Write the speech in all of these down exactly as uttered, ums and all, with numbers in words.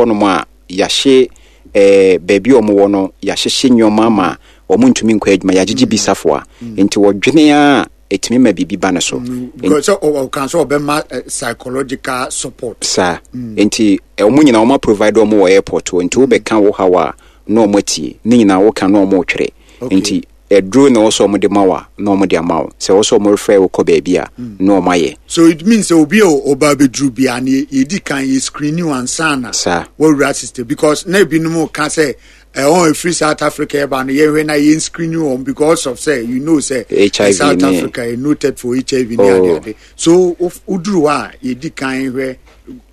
Hɔnom a yɛahye ɛɛ baabi a wɔwɔ no, yɛahyehye nneɛma ama wɔn ntumi nkɔ adwuma, yɛagyegye bi safoa, nti wɔdwene a ɛtumi ma biribi ba ne so. Because sɛ ɔka sɛ ɔbɛma psychological support. Saa nti wɔn nyinaa wɔn provide wɔn wɔ airport hɔ, nti wobɛka wo haw a na wɔn atie ne nyinaa, woka na wɔn retwerɛ. Nti aduro na wɔsɔ wɔn de ma wo a na wɔn de ama wo, sɛ wɔsɔ wɔn refer wo kɔ baabi a na wɔn ayɛ. So it means sɛ obi a ɔba abɛduru bia ne yɛdi kan yɛ screen you ansa na saa wɔwura system, because na ebinom ka sɛ ɛwɔn efiri South Africa ɛba no, yɛhwɛ na yɛn screen wɔn because of say you know say H I V. South ne- Africa yɛ noted for H I V ne Oh. ade ade, so woduru hɔ a yɛdi kan hwɛ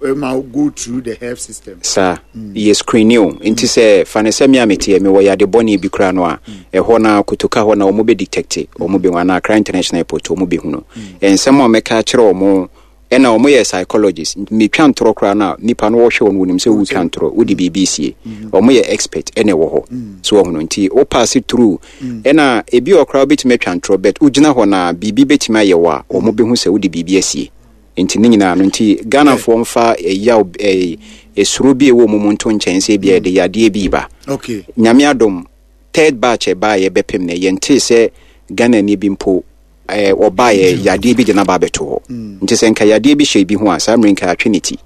ɛma go through the health system. Saa yɛ screen o, nti sɛ fa ne sɛ me a meteɛ mewɔ yade bɔne bi koraa no a, ɛhɔ na Kotoka hɔ na wɔn bɛ detect, wɔn bɛhu, anaa Accra International Airport wɔn bɛhu no. Nsɛm a mɛka akyerɛ wɔn ɛna wɔn yɛ psychologist, metwa ntorɔ koraa no a, nipa no wɔhwɛ wɔn, wɔnim sɛ wotwa ntorɔ, wode biribi sie. Wɔn yɛ expert ɛna ɛwɔ hɔ so wɔn no, nti wo pass through ɛna ebi wɔ koraa wobɛtumi atwa ntorɔ, but wogyina hɔ na biribi bɛtumi ayɛ wɔ a, wɔn bɛhu sɛ wode biribi asie. Nti ne nyinaa no nti Ghanafoɔ mfa ɛyaw ɛɛ esuro bi a ɛwɔ mu mu nto nkyɛn sɛ ebi a yɛde yadeɛ bi ba. Okay nyame adom, third batch ɛbaa yɛ bɛpem no, yɛntee sɛ Ghanani bi mpo ɛɛ ɔbaa yɛ yadeɛ bi de n'aba abɛto hɔ. Nti sɛ nka yadeɛ bi hyɛ bi ho a, saa mmere nka atwe ne ti.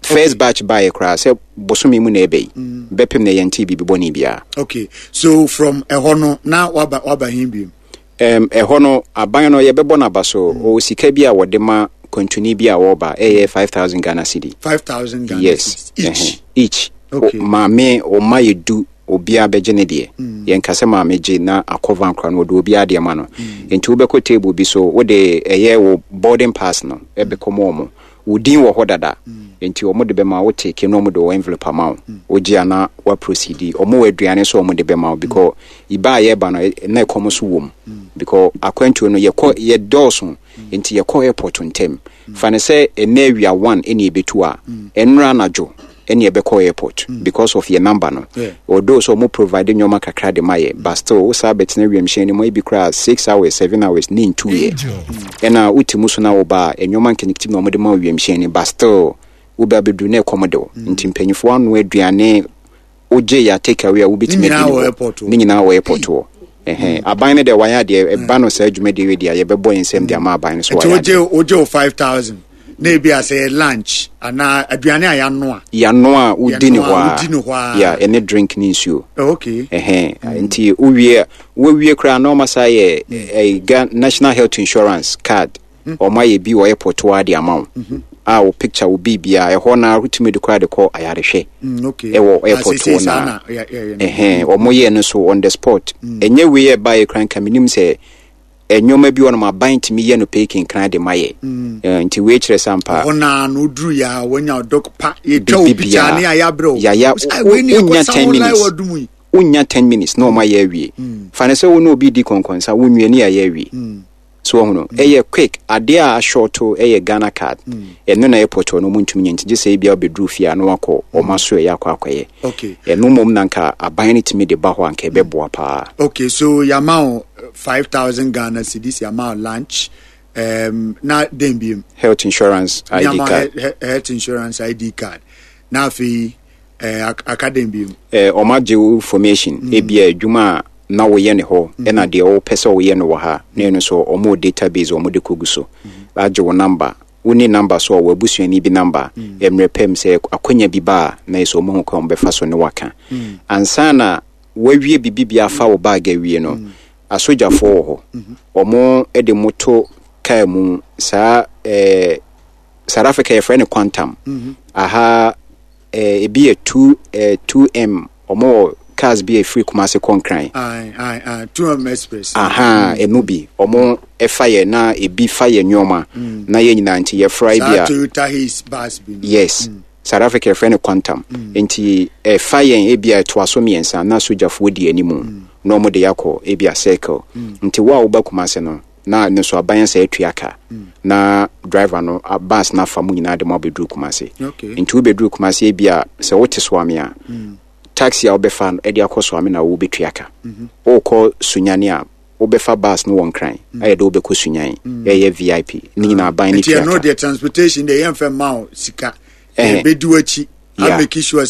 First batch baa yɛ koraa sɛ bosome mu na ɛbɛ yi bɛpem no, yɛntee biribi bɔne biara. Okay, so from ɛhɔ no na waba waba hin bi? um, ɛhɔ no aban no yɛbɛbɔ n'aba so, ɔwɔ sika bi a wɔde ma kwantuni bi a wɔreba, ɛyɛ five thousand Ghana cedi. five thousand Ghana yes cedis each? Ɛhɛn, each. Okay. O, maame ɔma yɛ du, obiara bɛgye ne deɛ. Yɛnka sɛ maame gye na akɔva nkora no, wɔde obiara deɛ ma no. Nti wobɛkɔ table bi so, wode ɛyɛ wo boarding pass no ɛbɛkɔ mu, ɔmo wo din wɔ hɔ dada, nti ɔmo de bɛma wo, take na ɔmo de wɔ envelope ama wo, wogye a na wa proceed. Ɔmo wɔ aduane so ɔmo de bɛma wo, because iba a yɛba no ɛ- na ɛkɔm so wɔ mu, because akwantuo no yɛkɔ yɛ dɔɔso, nti yɛkɔ airport ntɛm. Fa ne sɛ ɛnɛ awia one ɛne ɛbɛtu a, ɛnora anadwo ɛne ɛbɛkɔ airport because of yɛ number no. Yeah. Although sɛ ɔmo provide nneɛma kakra de ma yɛ, but still wo saa bɛtena wiemhyɛn no mu ebi koraa six hours, seven hours ne ntu yɛ, ɛna wote mu so na woba a, nneɛma nketenkete na ɔmo de ma wo wiemhyɛn no, but still wobɛ abɛduru na ɛkɔm de wo. Nti mpanyinfoɔ ano aduane wogye yɛ take away a wobɛtumi Ne nyinaa adi wɔ ne hɔ. Airport hɔ. Ne nyinaa wɔ airport hɔ. Ɛhɛn, aban no deɛ wayɛ adeɛ. Ɛba no saa dwumadie wei deɛ, yɛbɛbɔ yɛn nsɛm de ama aban no so. Nti wayɛ adeɛ. wogye wogye wo five thousand na ebi a sɛ yɛ lunch anaa aduane a yɛanoa. Yɛano a wodi ne Yɛnoa hɔ a a wodi ne hɔ a. Ya, ɛne drink ne nsuo. Oh, okay ɛhɛn, nti wowie a, wowie koraa na ɔma saa yɛ ɛɛ Ga national health insurance card, ɔma yɛ bi wɔ airport hɔ de ama wo a, wo picture wo biribiara ɛhɔ na wotumi de koraa de kɔ ayarehwɛ. Mm, okay Ɛwɔ Ah, airport seesei hɔ saa na na yɛ- yɛ- yɛ no. Ɛhɛn, ɔmo yɛ no so on the spot. Ɛnyɛ wei yɛ ɛbaeɛ koraa nka menim sɛ ɛnneɛma bi wɔ nom aban tumi yɛ no pɛ kinkran de ma yɛ. Ɛɛ, nti wei kyerɛ sɛ ampa Hɔ naa no woduru yɛ a, wanya dɔk pa, yɛtwa wo Biribi picture biara. ne a yɛabrɛ wo. Yaya, Wo sɛ, "Ai, wei ne wonya yɛkɔsa ten wo line minutes. wɔ dum yi." Wonya ten minutes na ɔma yɛ awie. Fa ne sɛ wo ne obi di kɔnkɔnsa, wonwie ne yɛayɛ awie so ɔho no, ɛyɛ quick. Adeɛ a ahyɔɔto ɛyɛ Ghana Card, ɛno na airport hɔ no ɔmo ntumi nyɛ, nti gye sɛ ebia wobɛduru fie a na wakɔ ɔma so ɛyɛ akɔ akɔyɛ. Okay ɛno mmom na nka aban no tumi de ba hɔ a, nka ɛbɛboa paa. Okay, so yɛama wo five thousand Ghana cedis, yɛama wo lunch, um, na den biem? Health insurance I D Yɛama wo card. he- he- health insurance I D card, na afei eh, ak- aka den biem? eh, ɔma gye wo information, ebia adwuma a na woyɛ ne hɔ ɛna deɛ wopɛ sɛ woyɛ no wɔ ha na ɛno nso ɔmo wɔ database ɔmo de kɔgu so, agye wo number, wonni number so a, wɔ abusuani bi number. Mmerɛ pɛm sɛ akwanya bi ba a, na yɛ sɛ ɔmo hu kwan ɔmo bɛfa so ne waka ansa na wawie biribi bi afa wo bag awie no. Asogyafoɔ wɔ hɔ, ɔmo de mo to kaa mu saa. ɛɛ South Africa yɛfrɛ no Quantum, aha ɛɛ ebi yɛ two ɛɛ two M. Ɔmo wɔ cars bi a efiri Kumase kɔ Nkran. Aye, aye, aye. Two M Express. Aha, ɛno bi ɔmo ɛfa yɛ na ebi fa yɛ nneɛma na yɛ nyinaa, nti yɛfra bi saa a Toyota Hiace bus bi no. Yes, South Africa yɛfrɛ no Quantum, nti ɛfa yɛn ebi a ɛtoa so mmiɛnsa na sogyafoɔ di anim na ɔmo de yɛakɔ ebi a Circle. Nti wo a woba Kumase no na ne so aban sɛ atua ka na driver no a- bus no afa mu nyinaa de mo abɛduru Kumase. Okay. Nti wobɛduru Kumase, ebi a sɛ wote Soame a, taxi a wobɛfa no ɛde akɔ Soame na wobɛtua ka. Wokɔ Sunyane a, wobɛfa bus no wɔ Nkran ayɛ dɛ wobɛkɔ Sunyan, ɛyɛ V I P ne nyinaa aban ne Nti tua ɛno ka. deɛ, transportation deɛ, yɛmfɛ ma wo sika. Ɛhɛ. Ɛbɛdi w'akyi. Yeah. I make sure sɛ